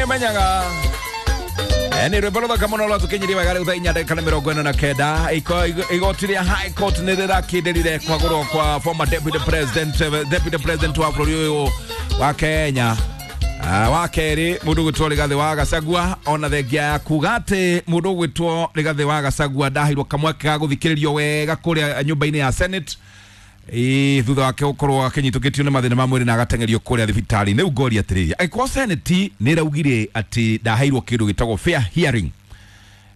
Nĩ menyaga nĩ rwĩmbo rũthaka mũno rwatũkinyirie wega rĩu thaa inya ndagĩka nĩ mĩrongo ĩna na kenda. Igoti rĩa High Court nĩ rĩrakindĩrire kwagũrwo kwa former deputy president, deputy president wa bũrũri ũyũ wa Kenya. Wa kerĩ mũndũ ũgwĩtwo Rigathĩ wa Gachagua, ona thengia ya kuga atĩ mũndũ ũgwĩtwo Rigathĩ wa Gachagua ndaheirwo kamweke ga gũthikĩrĩrio wega kũrĩa nyũmba-inĩ ya Senate. Ĩĩ, thutha wake gũkorwo akĩnyitũkĩtio nĩ mathĩna ma mwĩrĩ na agateng'erio kũrĩa thibitarĩ. Rĩu ngoria atĩrĩrĩ, angĩkorwo Senate nĩ ĩraugire atĩ ndaheirwo kĩndũ gĩtagwo fair hearing,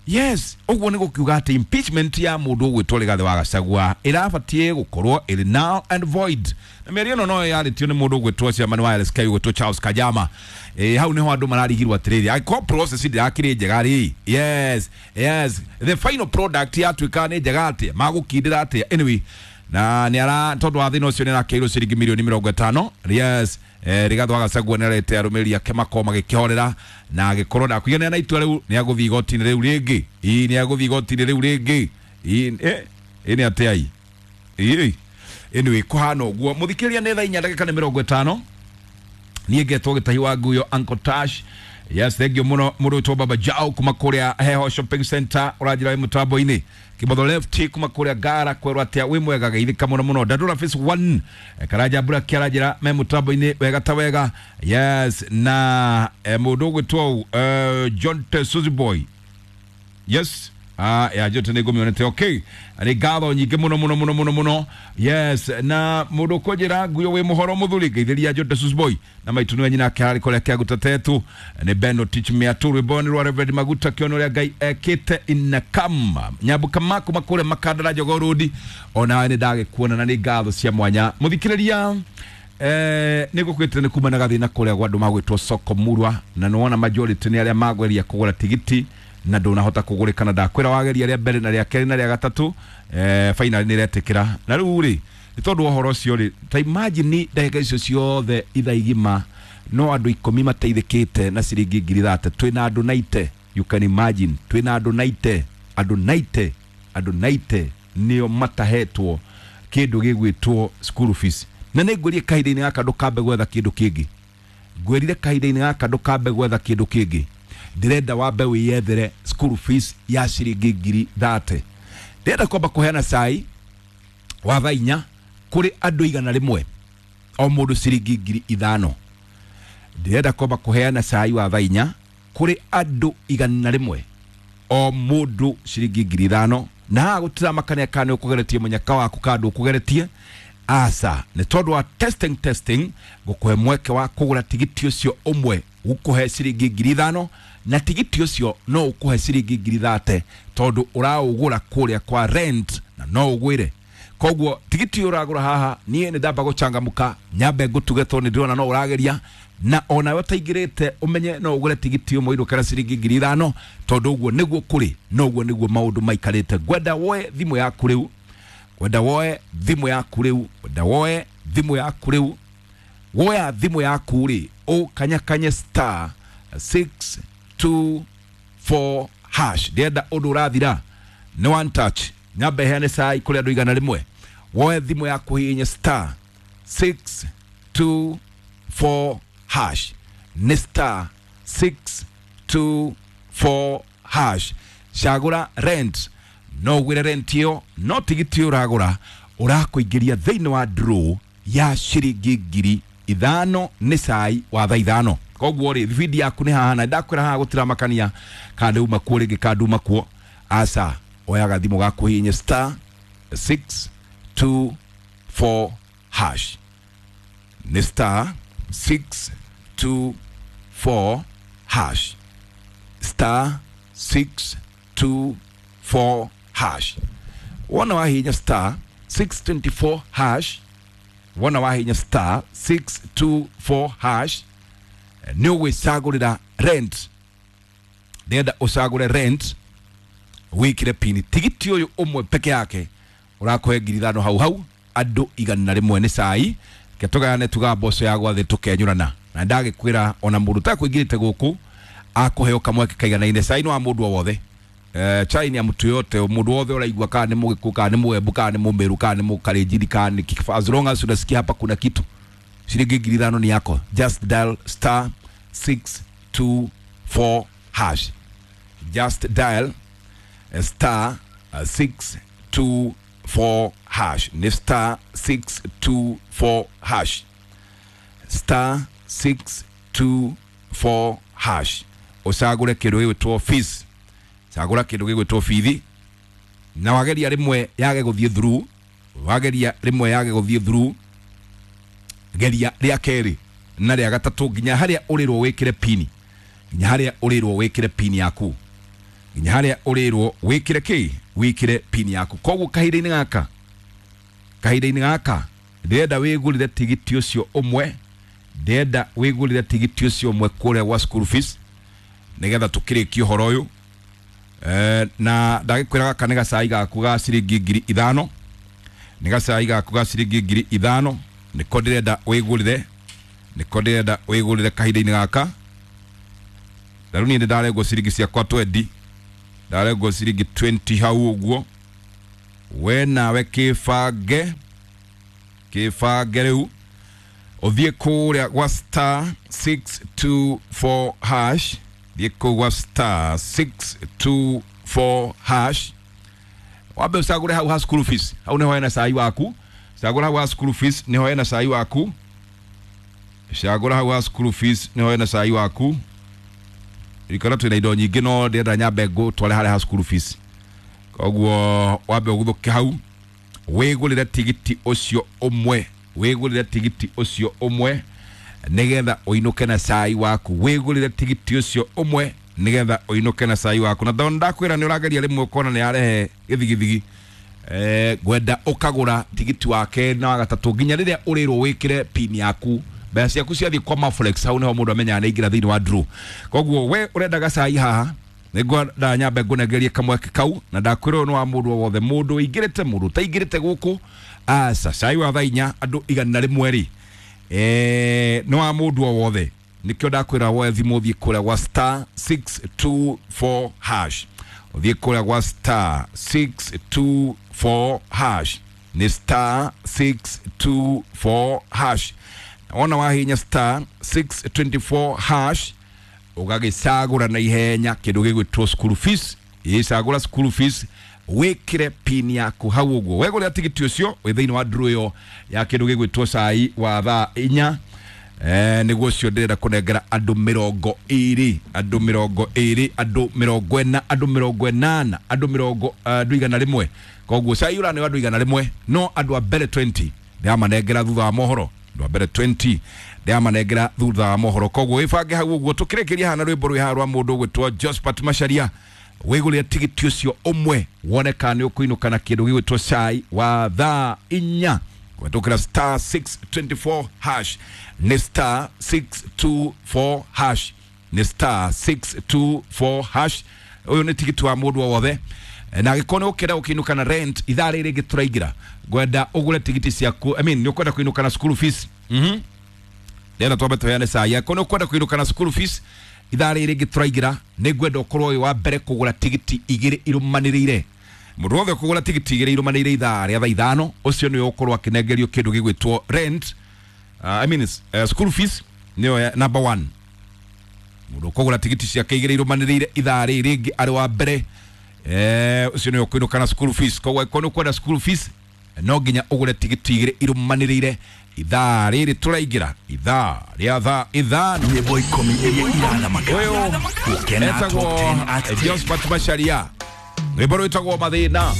yes, ũguo nĩ gũkiuga atĩ impeachment ya mũndũ ũgwĩtwo Rigathĩ wa Gachagua ĩrabatiĩ gũkorwo ĩrĩ null and void. Na mĩario ĩno no yarĩtio nĩ mũndũ ũgwĩtwo chairman wa LSK ũgwĩtwo Charles Kajama. Hau nĩho andũ mararigirwo atĩrĩrĩ, angĩkorwo process ndĩrakĩrĩ njega rĩ, yes, yes, the final product yatuĩka nĩ njega atĩa, magũkindĩra atĩa? Anyway, na nĩ ara tondũ wa thĩna ũcio nĩ arakeirwo ciringi mirioni mĩrongo ĩtano. Yes, Rigathĩ wa Gachagua nĩ arete arũmĩrĩri ake makorwo magĩkĩhorera na agĩkorwo ndakũiganĩra na itua rĩu, nĩ agũthiĩ igoti-inĩ rĩu rĩngĩ. Ii, nĩ agũthiĩ igoti-inĩ rĩu rĩngĩ. Ii, ĩ nĩ atĩa ii? Ii, anyway, kũhana ũguo. Mũthikĩrĩria, nĩ thaa inya ndagĩka nĩ mĩrongo ĩtano. Niĩ ngetwo Gĩtahi wa Nguyo, Uncle Tash. Yes, thank you mũno. Mũndũ wĩtwo Baba Jao kuma kũrĩa Heho Shopping Center ũranjĩra wĩ mũtambo-inĩ. Kĩmotho Left kuma kũrĩa Ngara kwerwo atĩa, wĩ mwega, geithĩka mũno mũno. Ndandũra Phase 1, Karanja Mbura kĩaranjĩra me mũtambo-inĩ wega ta wega. Yes, na mũndũ ũgwĩtwo John T. Suzy Boy. Yes, ya njote nĩ ngũmĩonete. Okay, nĩ ngatho nyingĩ mũno mũno mũno mũno mũno. Yes, na mũndũ ũkũnjĩra nguyo wĩ mũhoro mũthuri, ngeithĩria Njote Suzy Boy na maitu nĩwe nyina ake arĩ kũrĩa kĩaguta tetu nĩ Beno Teach Me Atu. Rwĩmbo nĩ rwa Reverend Maguta kĩono ũrĩa Ngai ekĩte inakam nyambuka maku makũrĩa makandara Jogoo Road. Onawe nĩ ndagĩkuona na nĩ ngatho cia mwanya. Mũthikĩrĩria, nĩ ngũkwĩte nĩ kuma na gathĩna kũrĩa gwa andũ magwĩtwo soko murwa, na nĩwona majority nĩ arĩa magweria kũgũra tigiti na ndũnahota kũgũrĩka, na ndakwĩra wageria rĩa mbere na rĩa kerĩ na rĩa gatatũ, finally nĩ ĩretĩkĩra. Na rĩu rĩ, nĩ tondũ wa ũhoro ũcio rĩ, ta imagine ndagĩka icio ciothe ithaa igima no andũ 10 mateithĩkĩte na ciringi 30,000. Twĩna andũ 90, you can imagine, twĩna andũ 90, andũ 90, andũ 90 nĩo matahetwo kĩndũ gĩgwĩtwo school fees. Na nĩ ngwĩrie kahinda-inĩ gaka ndũkambe gwetha kĩndũ kĩngĩ. Ngwĩrire kahinda-inĩ gaka ndũkambe gwetha kĩndũ kĩngĩ, ndĩrenda wambe wĩyethere school fees ya ciringi 30,000. Ndĩrenda kwamba kũheana cai wa thaa inya kũrĩ andũ 100, o mũndũ ciringi 5,000. Ndĩrenda kwamba kũheana cai wa thaa inya kũrĩ andũ 100, o mũndũ ciringi 5,000. Na haha gũtiramakania kana nĩ ũkũgeretie mũnyaka waku kana ndũkũgeretie, aca, nĩ tondũ wa testing testing ngũkũhe mweke wa kũgũra tigiti ũcio ũmwe gũkũhe ciringi 5,000, na tigiti ũcio no ũkũhe ciringi 30,000 tondũ ũraũgũra kũrĩa kwa rent na no ũgwĩre. Koguo tigiti ũyũ ũragũra haha, niĩ nĩ ndamba gũcangamũka nyambe ngũtuge tondũ nĩ ndĩrona no ũrageria, na onawe ũtaingĩrĩte ũmenye no ũgũre tigiti ũmwe ũinũkĩra ciringi 5,000, tondũ ũguo nĩguo kũrĩ na ũguo nĩguo maũndũ maikarĩte. Ngwenda woe thimũ yaku rĩu, ngwenda woe thimũ yaku rĩu, ngwenda woe thimũ yaku rĩu. Woya thimũ yaku rĩ, ũkanyakanye *624#. Ndĩrenda ũndũ ũrathira nĩ one touch. Nyambe heane cai kũrĩ andũ 100. Woe thimũ yaku, hihinye *624#, nĩ *624#. Cagũra rent, no ũgũre rent ĩyo, no tigiti ũyũ ũragũra ũrakũingĩria thĩinĩ wa draw ya ciringi 5,000. Nĩ cai wa thaa 5. Koguo rĩ, thibindi yaku nĩ haha, na ndakwĩra haha gũtiramakania kana ndĩuma kuo rĩngĩ kana nduma kuo, aca. Oya gathimũ gaku, hihinye *624#, nĩ *624#, *624#. Wona wahihinya *624#, wona wahihinya *624# nĩ ũgwĩcagũrĩra rent. Ndĩrenda ũcagũre rent, wĩkĩre pini. Tigiti ũyũ ũmwe peke yake ũrakũhe 5,000 hau hau, andũ 100 nĩ cai. Ke tũgayane, tuga mboco ya gwathĩ tũkenyũrana, na ndagĩkwĩra ona mũndũ ũtakũingĩrĩte gũkũ akũheo kamweke kaiganaine. Cai nĩ wa mũndũ o wothe. Chai ni ya mtu yote, mundu wothe ũraigua, kana nĩ mũgĩkũyũ, kana nĩ mũembu, kana nĩ mũmeru, kana nĩ mũkalenjini, kana nĩ, as long as unasikia hapa kuna kitu, shilingi 5,000 ni yako. Just dial *6 624 hash. Just dial star 624 hash. Ni star 624 hash. Star 624 hash. Ucagure kindu gigwitwo fees. Cagura kindu gigwitwo fees. Na wageria rimwe yage guthie through, wageria rimwe yage guthie through, geria ria keri na ria gatatu nginya haria urirwo wikire pini, nginya haria urirwo wikire pini yaku, nginya haria urirwo wikire ki, wikire pini yaku. Koguo kahinda-inĩ gaka, kahinda-inĩ gaka ndĩrenda wĩgũrĩre tigiti ũcio ũmwe, ndĩrenda wĩgũrĩre tigiti ũcio ũmwe kũrĩa gwa school fees nĩgetha tũkĩrĩkie ũhoro ũyũ. Na ndagikwira gaka nĩ gacai gaku ga ciringi 5,000, nĩ gacai gaku ga ciringi 5,000, nĩko ndĩrenda wĩgũrĩre, nĩko ndĩrenda wĩgũrĩre kahinda-inĩ gaka. Na rĩu niĩ nĩ ndarengwo ciringi ciakwa 20, ndarengwo ciringi 20 hau ũguo. We nawe kĩbange, kĩbange rĩu ũthiĩ kũrĩa gwa star 624 hash, thiĩ kũu gwa star 624 hash, wambe ũcagũre hau ha school fees, hau nĩho hena cai waku. Cagũra hau ha school fees nĩho hena cai waku, cagũra hau ha school fees nĩho hena cai waku. Ririkana twĩna indo nyingĩ no ndĩrenda nyambe ngũtware harĩa ha school fees, koguo wambe ũguthũke hau wĩgũrĩre tigiti ũcio ũmwe, wĩgũrĩre tigiti ũcio ũmwe nĩgetha ũinũke na cai waku, wĩgũrĩre tigiti ũcio ũmwe nĩgetha ũinũke na cai waku. Na tondũ ndakwĩra nĩ ũrageria rĩmwe ũkona nĩ yarehe gĩthigithigi, ngwenda ũkagũra tigiti wa kerĩ na wa gatatũ nginya rĩrĩa ũrĩrwo wĩkĩre pin yaku. Mbeca ciaku ciathiĩ kwa Maflex, hau nĩho mũndũ amenyaga nĩ aingĩra thĩinĩ wa draw. Koguo we ũrenda gacai haha, nĩngwenda nyambe ngũnengerie kamweke kau, na ndakwĩra ũyũ nĩ wa mũndũ o wothe, mũndũ ũingĩrĩte, mũndũ ũtaingĩrĩte gũkũ. Aca, cai wa thaa inya andũ 100 rĩ, nĩ wa mũndũ o wothe. Nĩkĩo ndakwĩra woe thimũ ũthiĩ kũrĩa gwa star 624 hash, ũthiĩ kũrĩa gwa star 624 hash, nĩ star 624 hash. Wona wahinya star 624 hash ũgagĩcagũra na ihenya kĩndũ gĩgwĩtwo school fees. Ĩcagũra school fees, wĩkĩre pin yaku hau ũguo. Wegũrĩra tigiti ũcio wĩ thĩinĩ wa draw ĩyo ya kĩndũ gĩgwĩtwo cai wa thaa inya. Nĩguo ũcio ndĩrenda kũnengera andũ 20, andũ 20, andũ 40, andũ 80, andũ mĩrongo, andũ 100. Koguo cai ũra nĩ andũ 100, no andũ a mbere 20 ndĩramanengera thutha wa mohoro, andũ a mbere 20 ndĩramanengera thutha wa mohoro. Koguo wĩbange hau ũguo tũkĩrĩkĩria haha na rwĩmbo rwĩ haha rwa mũndũ ũgwĩtwo Josephat Macharia. Wĩgũrĩre tigiti ũcio ũmwe wone kana nĩ ũkũinũka na kĩndũ gĩgwĩtwo cai wa thaa inya. Kũhetũkĩra star 624 hash, nĩ star 624 hash, nĩ star 624 hash. Ũyũ nĩ tigiti wa mũndũ o wothe, na angĩkorwo nĩ ũkĩenda gũkĩinũka na rent ithaa rĩrĩ rĩngĩ tũraingĩra, ngwenda ũgũre tigiti ciaku, I mean nĩ ũkwenda kũinũka na school fees. Ndĩrenda twambe tũheane cai. Angĩkorwo nĩ ũkwenda kũinũka na school fees ithaa rĩrĩ rĩngĩ tũraingĩra, nĩ ngwenda ũkorwo wĩ wa mbere kũgũra tigiti 2 irũmanĩrĩire. Mũndũ wothe ũkũgũra tigiti 2 irũmanĩrĩire ithaa rĩa thaa 5, ũcio nĩwe ũkorwo akĩnengerio kĩndũ gĩgwĩtwo rent, I mean school fees nĩyo number 1. Mũndũ ũkũgũra tigiti ciake 2 irũmanĩrĩire ithaa rĩrĩ rĩngĩ arĩ wa mbere, ũcio nĩwe ũkũinũka na school fees. Koguo angĩkorwo nĩ ũkwenda school fees no nginya ũgũre tigiti 2 irũmanĩrĩire ithaa rĩrĩ tũraingĩra, ithaa rĩa thaa 5. Nyĩmbo 10 iria irathamaka. Ũyũ Gũkena etagwo Top 10 at 10. Josephat Macharia, rwĩmbo rwĩtagwo Mathĩna.